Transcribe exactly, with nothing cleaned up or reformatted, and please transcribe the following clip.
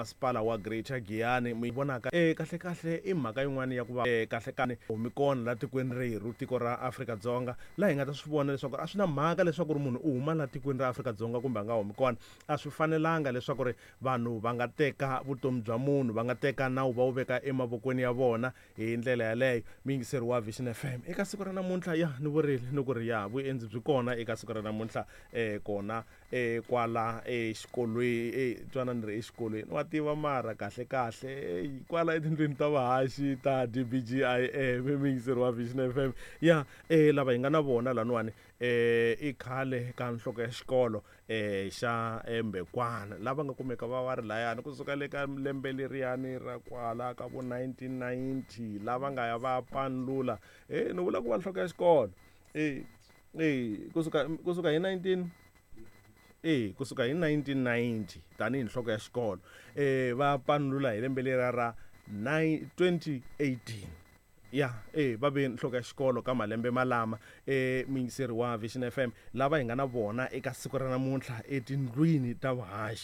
Masipala wa Greater Giyani mi vonaka e kahle kahle i mhaka yin'wana ya ku va e kahle kani humi kona la tikweni rerhu, tiko ra Afrika-Dzonga, laha hi nga ta swi vona leswaku a swi na mhaka leswaku ri munhu u huma la tikweni ra Afrika-Dzonga kumbe a nga humi kona. A swi fanelanga leswaku ri vanhu va nga teka vutomi bya munhu, va nga teka nawu va wu veka emavokweni ya vona hi ndlela yaleyo. Muyingiseri wa Vision F M, eka siku ra namuntlha, ya ni vurile ni ku ri ya vuendzi byi kona eka siku ra namuntlha um kona um kwala exikolweni, e twana ni ri exikolweni wa tiva, mara kahle kahle kwala etindlwini ta vahaxi ta D B G I M. Muyingiseri wa Vision F M, ya um lava hi nga na vona laniwani um i khale ka nhloko ya xikolo um xa Mbekwana, lava nga kumeka va va ri layani kusuka le ka lembe leriyani ra kwala ka vo nineteen ninety, lava nga ya va panlula e ni vula ku va nhloko ya xikolo e e kusuka kusuka hi nineteen e kusuka hi nineteen ninety tanihi nhloko ya xikolo, eh va panlula hi lembe leriya ra twenty eighteen. Ya e va ve nhloko ya xikolo ka malembe malama. E muyingiseri wa Vision F M, lava hi nga na vona eka siku ra namuntlha etindlwini ta vuhaxi.